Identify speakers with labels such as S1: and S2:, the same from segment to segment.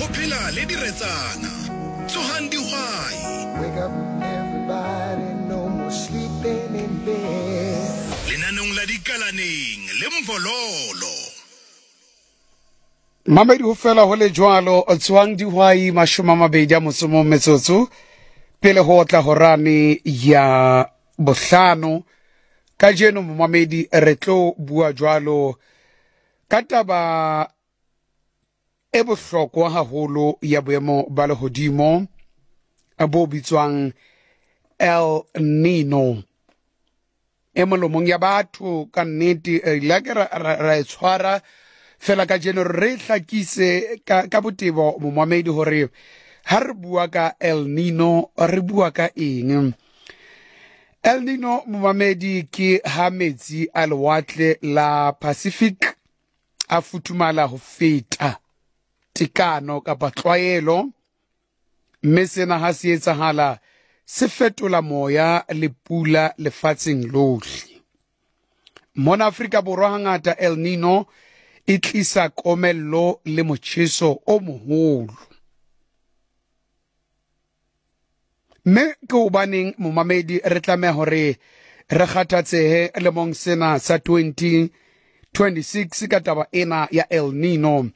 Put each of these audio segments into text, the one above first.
S1: Go phela le diretsana. Tsogang dihwai.
S2: Wake up everybody, no more sleeping in bed.
S1: Lenaneong la Dikalaneng le Mvololo.
S3: Mamedi ho fela ho le jwalo tsoang dihwai 28 metsotso pele ho otla horane ya bohlano. Kajeno momamedi re tlo bua jwalo ka taba e bohlokwa haholo ya boemo ba lehodimo bo bitswang El Nino. E molomong ya batho ka nnete re ile ke ra e tshwara fela kajeno re hlakise ka botebo momamedi hore ha re bua ka El Nino re bua ka eng. El Nino momamedi ke ha metsi a lewatle la Pacific a futhumala ho feta tekano kapa tlwaelo, mme sena ha se etsahala se fetola moya le pula lefatsheng lohle. Mona Afrika Borwa hangata El Nino e tlisa komello le motjheso o moholo. Mme ke hobaneng momamedi re tlameha hore re kgathatsehe lemong sena sa 2026 ka taba ena ya El Nino?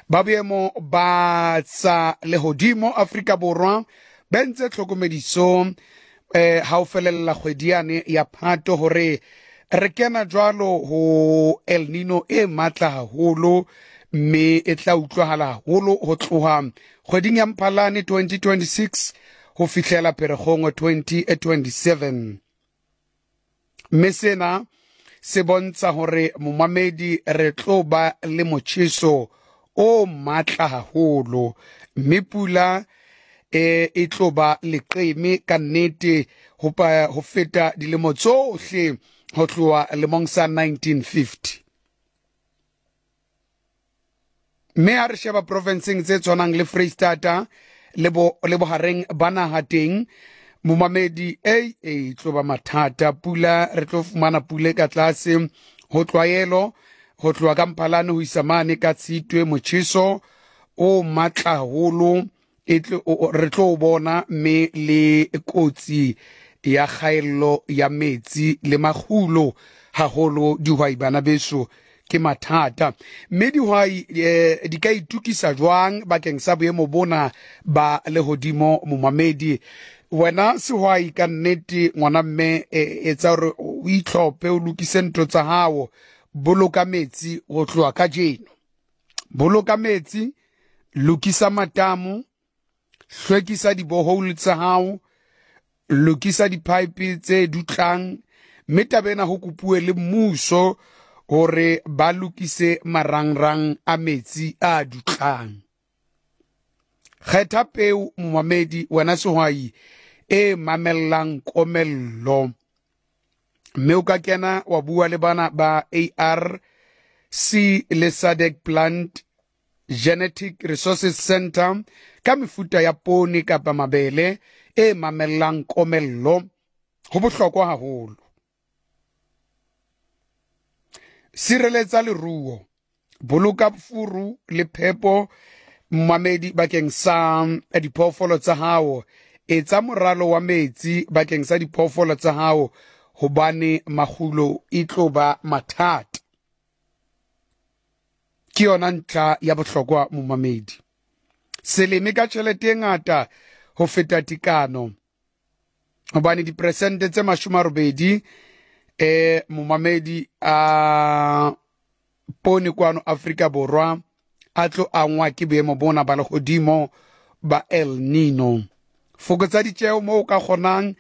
S3: Ba boemo ba tsa lehodimo Afrika Borwa ba entse tlhokomediso ha o felella kgwedi yane ya Phato hore re kena jwalo ho El Nino e matla haholo, mme e tla utlwahala haholo ho tloha kgweding ya Mphalane 2026 ho fihlela Pherekgong 2027. Mme sena se bontsha hore momamedi re tlo ba le motjheso o matla haholo, mme pula e tlo ba leqeme ka nnete ho feta dilemo tsohle ho tloha lemong sa 1950. Mme ha re sheba provinseng tse tshwanang le Freistata le bo le bohareng ba naha teng momamedi e e tlo ba mathata. Pula re tlo fumana pula e ka tlase ho tlwaelo ho tloha ka Mphalane ho isa mane ka Tshitwe. Motjheso o matla haholo e re tlo bona, mme le kotsi ya kgaello ya metsi le makgulo haholo dihwai bana beso ke mathata. Mme dihwai di ka itukisa jwang bakeng sa boemo bona ba lehodimo momamedi? Wena sehwai ka nnete ngwana mme, etsa hore o itlhophe, o lokise ntho tsa hao, boloka metsi ho tloha kajeno. Boloka metsi, lokisa matamo, hlwekisa dibohole tsa hao, lokisa di-pipe tse dutlang, mme taba ena ho kopuwe le mmuso hore ba lokise marangrang a metsi a dutlang. Kgetha peo momamedi wena sehwai e mamellang komello, mme o ka kena wa bua le bana ba ARC le SADC Plant Genetic Resources Center ka mefuta ya poone kapa mabele e mamellang komello. Ho bohlokwa haholo. Sireletsa leruo, boloka furu le phepo mmamedi bakeng sa diphoofolo tsa hao, etsa moralo wa metsi bakeng sa diphoofolo tsa hao hobane makgulo e tlo ba mathata. Ke yona ntlha ya bohlokwa momamedi. Se leme ka tjhelete e ngata ho feta tekano hobane diperesente tse 80 momamedi a poone kwano Afrika Borwa a tlo angwa ke boemo bona ba lehodimo ba El Nino. Fokotsa ditjeo moo o ka kgonang.